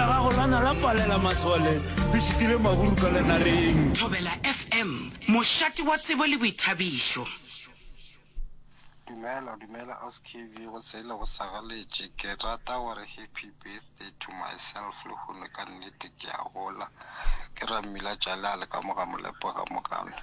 la gago la na la palela masole, le šitile maburu ka lenareng. Thobela FM, mošate wa tsebo le boithabišo. Dumela dumela aus KV go sele go sagaletše ke rata gore happy birthday to myself lehono ka nnete ke a gola ke Rammila Tšale a le ka mo ga Molepo ga Mogale.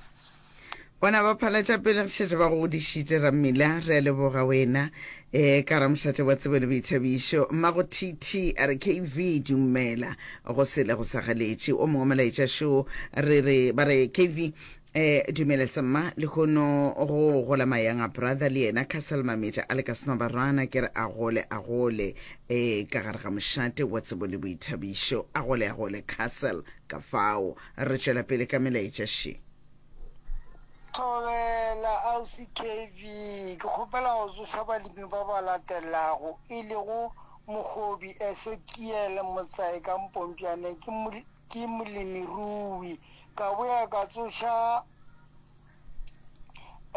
Bona ba phala tša pele re šetše ba go godišitše Rammila re a leboga wena e ka ramošate wa tsebo le boithabišo mmago TT a re KV dumela go sele go sa galetše o mongwe molaetša šo re re ba re KV E, dumela samma lehono go gola mayanga brother le yena Castle Mametša a le ka snobarwana ke re a gole a gole e ka gare ga mošate wa tsebo le boithabišo a gole a gole Castle ka fao re tšwela pele ka melaetša še. Thobela Ausi KV, ke kgopela go tsoša balemi ba ba latelago, e lego Mogobi Esekiel Motsae ka Mpompjane, ke ke molemirui. Ka boya ka tsoša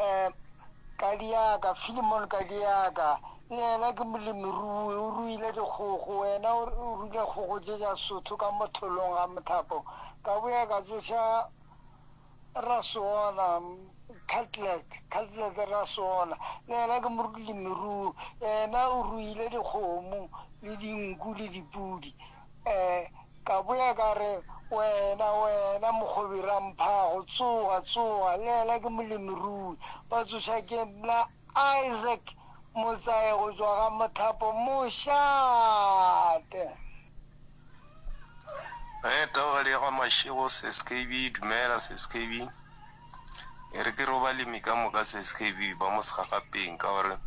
um Kadiaka, Philemon Kadiaka, le yena ke molemirui, o ruile dikgogo, yena o ruile kgogo tše tša Sotho ka mo tholong ga Mothapo. Ka boya ka tsoša Rasoona, Cutlet, Cutlet Rasoona, le yena ke molemirui, yena o ruile dikgomo le dinku le dipudi. Um Ka boya ka re, Wena, wena mokgobi Ramphago, tsoga, tsoga, le yena ke molemirui. Ba tsoša ke nna Isaac Motsae go tšwa ga Mothapo Mošate. Ge taogadi ya ga Mashego Sis KB, Dumela Sis KB. E re ke re o balemi ka moka Sis KB ba mo segagapeng ka gore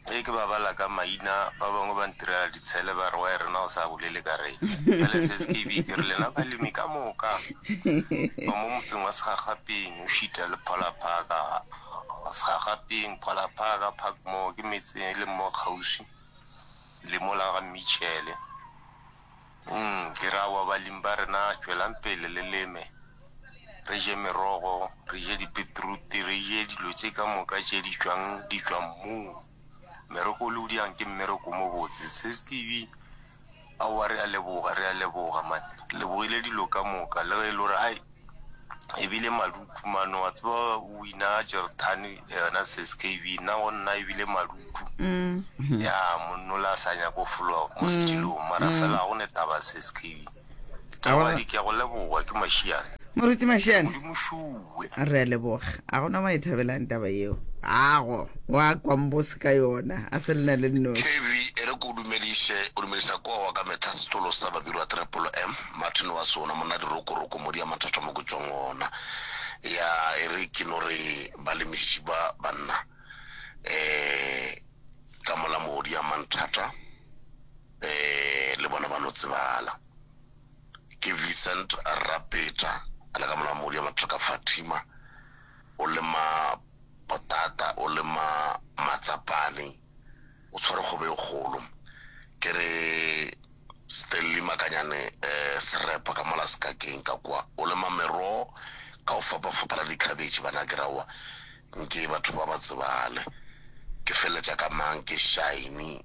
Ge ke ba bala ka maina, ba bangwe ba ntirela ditshele ba re, Why rena o sa bolele ka rena? Bjale SSKB ke re lena balemi ka moka ba mo motseng wa Segagapeng, o šita le Phola Park, Segagapeng, Phola Park, Parkmore ke metse e leng mo kgauswi le mola ga Mitchell. Umm, ke re aowa balemi ba rena tšwelang pele le leme, re je merogo, re je dipetrute, re je dilo tše ka moka tše di tšwang di tšwa mmung. Mmereko o le o diang ke mmereko o mobotse. Sis Kibi, aowa re a leboga, re a leboga man. Re lebogile dilo ka moka le ge e le gore ai e bile madutu mano wa tseba o wina Jordan yona Sis KB nna go nna e bile madutu mm. ya monnola a sa nyaka go fologa mo mm. setilong mara mm. fela ga go ne taba Sis KB Tawadi ke a go leboga ke Mashiane Moruti Mashiane Modimo šuwe re a leboga a gona wa e thabelang taba yeo ago wa kwambose ka yona a se lena le nnoši KV e re ko o dumediše o dumediša koa wa ka mehla setolo sa Babirwa Trepolo M Martin wa sona monna dirokoroko modi ya mathata mo ke tšwang gona ya e re ke no re balemiši ba banna um ka mola modi ya manthata um le bona ba no tsebala ke Vincent Rapeta a le ka mola modi ya mathata ka Fatima o lema potata o lema matsapane o tshware kgobe e kgolo ke re Stanley Makanyane Serepa ka mola sekakeng ka kwa o lema merogo ka go fapafapana dikhabetšhe bana ke ra wa nke batho ba ba tsebale ke feleletša ka mang ke Shiny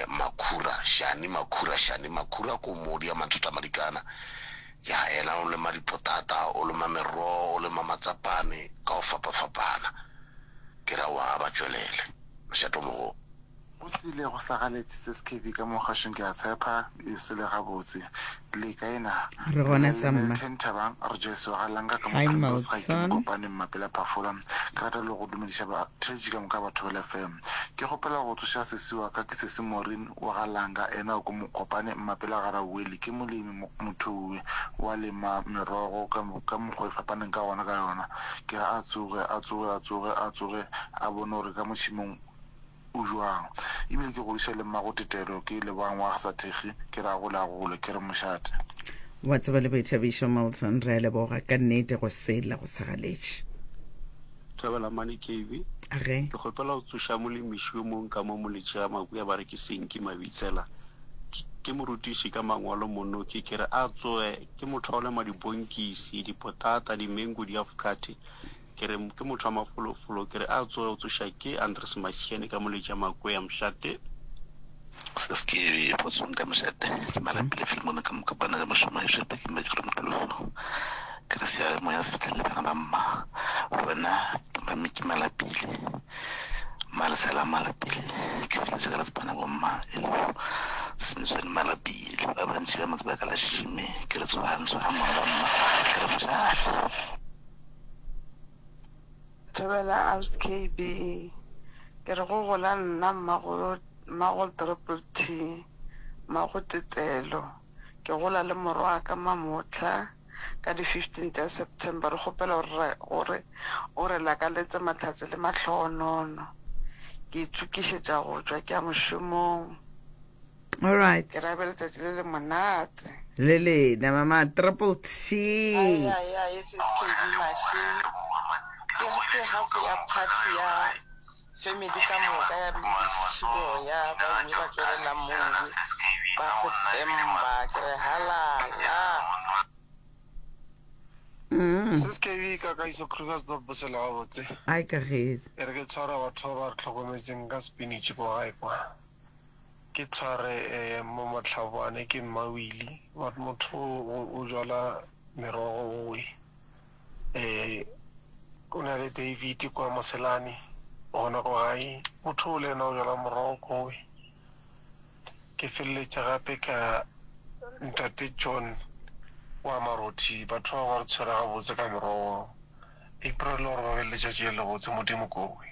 Makhura Shani Makhura Shani Makhura ko modi ya mathata madikana ya yena o lema dipotata o lema merogo o lema matsapane ka go fapafapana ke ra wa ba tšwelele mošate o mogolo. Go sele go slagaletše se SKB ka mo kgašong ke a tshepa e sele gabotse. Le kae na? Re Re gona na le samma. Milton Thabang, Rejoice wa ga Langa ka mo Hi Primrose ga ke Milton. Mokopane Mmapela Phafola. Ke rata le go dumediša batheetši ka moka ba Thobela FM. Ke kgopela go tsoša sesi wa ka ke sesi Maureen wa ga Langa ena o ko Mokopane Mmapela ga Rauweli ke molemi mothowi wa lema merogo ka ka mokgwa e fapaneng ka gona ka yona. Ke re a tsoge a tsoge a tsoge a tsoge a bone gore ka mo tšhemong O jwang? Ebile ke godiša le mmago Tetelo, ke Lebogang wa ga Sathekgi, ke re a gole a gole, ke re mošate. Wa tseba le boithabišo Milton, re a leboga ka nnete go sela go sa galetše. Thobela mane KB. Ge. Ke kgopela go tsoša molemiši yo mong ka mo Moletši ga Makuya ba re ke Senki Mabitsela. Ke morutiši ka mangwalo monoki ke re a tsoge ke motho wa go lema dibonkisi, dipotata, dimengo, diafokate. Ke re, ke motho wa mafolofolo, ke re a tsoge o tsoša ke Andres Mashiane ka Moletša Makwea Mošate. Se se ke potsong ka mošate ke malapile Filimone ka mokopana ka mošomo e šepe ke mekro mokolofu ke re seale moya se fitlhelele bana ba mma wena mami ke malapile malesela malapile ke fitlheletse ka letsepana bo mma e le Simpson malapile ba bantši ba motse ba ka la šime ke re tshwantsho ga mongwe ba mma ke re mošate. Thobela Ausi KB, ke re go gola nna mmago mmago Triple T, mmago Tetelo. Ke gola le morwaka Mamohla ka di 15 tša September. Re kgopela gore gore o re lakaletse mahlatse le mahlogonono. Ke itokišetša go tšwa ke ya mošomong. All right. Ke ra be letšatši le le monate. Le lena mama Triple T. Ai ai ai SSKB Mashing ke ke half ya party ya family ka moka ya Ditšhiboya ba ile ba tšwelela mowe ba September ke re halala. Mm. Sis KB ka Kagiso Krugersdorp bosele gabotse. Ai Kagiso. E re ke tshwara batho ba ba re hlokometseng ka spinach kwa gae kwa. Ke tshware mo Mohlabane ke Mmawili but motho o jwala merogo owe. O na le David kwa Moselane gona ko gae, motho o le yena o jwala morogo kowe. Ke feleletša gape ka Ntate John wa Marothi, batho bao ba re tshwere gabotse ka morogo. April gore ba be le letšatši le lebotse, Modimo kowe.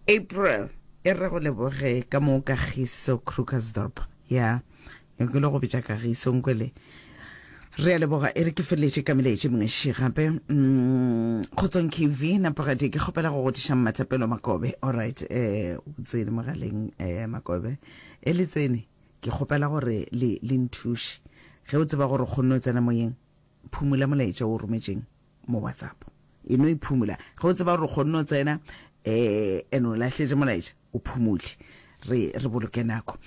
April. E re go leboge ka mo Kagiso Krugersdorp. Ya, ke lo go bitša Kagiso nkwele. Re a leboga e re ke feleletše ka melaetše mengwe še gape. Mm, Kgotsong KV Napogadi ke kgopela go godiša Mmathapelo Makobe. All right, eh o tsene mogaleng eh Makobe. E le tsene ke kgopela gore le le nthuše. Ge o tseba gore o kgonne o tsena moyeng, phumula molaetša o rometšeng mo WhatsApp. E no e phumula. Ge o tseba gore o kgonne o tsena eh ene o lahletše molaetša, o phumule. Re re boloke nako.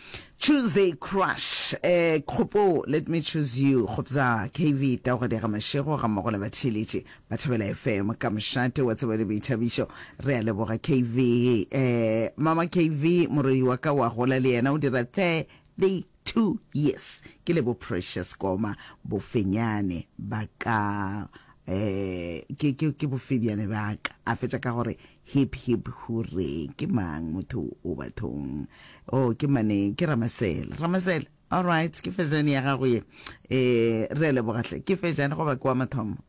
Tuesday crush eh kgopo let me choose you kgopza KV Taugadi ga Mashego ga mmogo le batheeletši ba Thobela FM ka mošate wa tsebo le boithabišo. Re a leboga KV eh mama KV morwedi wa ka wa gola le yena o dira 32 years ke le bo Precious Koma bofenyane ba ka eh ke ke ke bofebyane ba ka a fetša ka gore hip hip hurray ke mang motho o bathong oh ke mane ke Ramasela Ramasela all right ke fejane ya gago ye eh re a leboga hle ke fejane goba ke wa mathomo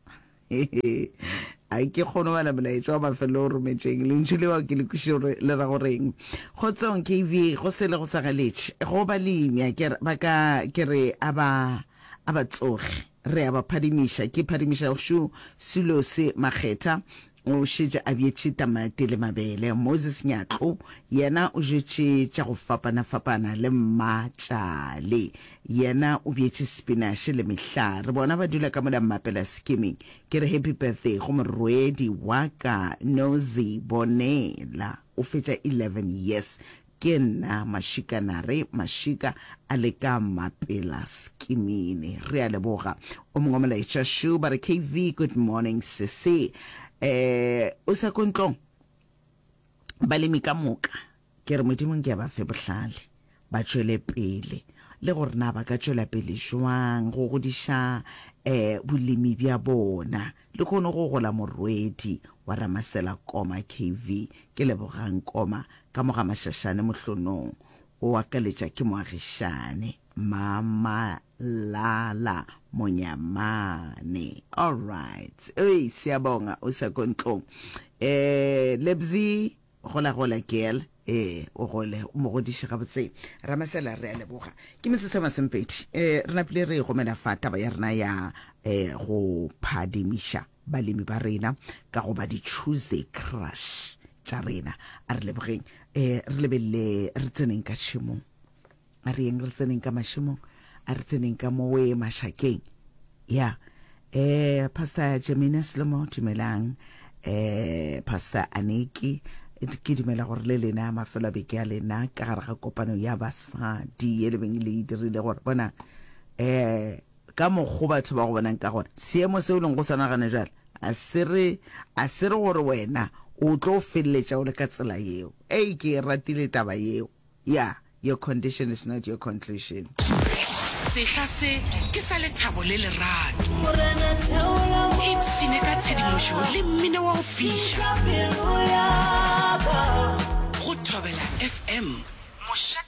A ke kgone go bala molaetša wa mafelelo o rometšeng. Lentšu leo ke le kwešiše gore le ra go reng. Kgotsong KV, go sele go sa galetše. Go balemi a ke ba ka ke re a ba a ba tsoge. Re a ba phadimiša. Ke phadimiša šo Sulose Makgetha o šetše a bjetše tamati le mabele. Moses Nyatlo yena o jetše tša go fapana-fapana le Mmatšale. Yena o bjetše spinaše le mehlare. Bona ba dula ka mola Mmapela Skimming. Ke re happy birthday go morwedi wa ka Nozi Bonela. O fetša 11 years. Ke nna Mashikanare Mashika a le ka Mmapela Skimini. Re a leboga. O mongwe molaetša šo ba re KV good morning sesi. Eh o sa ko ntlong? Balemi ka moka ke re Modimo nke a ba fe bohlale. ba tšwele pele le gore na ba ka tšwela pele jwang go godiša um bolemi bja bona. Le kgone go gola morwedi wa Ramasela Koma KV. Ke Lebogang Koma ka mo ga Mashashane Mohlonong. O akaletša ke moagišane Mama Lala Monyamane. Alright. Ei, siyabonga o sa ko ntlong. Eh, Lebzi Gola gola girl ee o gole o mo godiše gabotse Ramasela re a leboga ke metsotso e masomepedi um re napile re gomela fa taba ya rena ya um go phadimiša balemi ba rena ka go ba di-Tuesday crush tša rena a re lebogeng um re lebelele re tseneng ka tšhemong A re yeng re tseneng ka mašemong, a re tseneng ka mowe mašakeng. Ya. Eh, Pastor Jemina Selomo, dumelang. Eh, Pastor Aniki, ke dumela gore le lena mafelo a beke a lena ka gare ga kopano ya basadi ye le beng le e dirile gore bona eh ka mokgo batho ba go bonang ka gona seemo seo leng go sona gane jwale a se re a se re gore wena o tlo feleletša o le ka tsela yeo ei ke e ratile taba yeo ya. Your condition is not your conclusion. Sehla se ke sa lethabo le lerato. Ipshine ka tshedimošo le mmino wa go fiša. Go Thobela FM, mošate.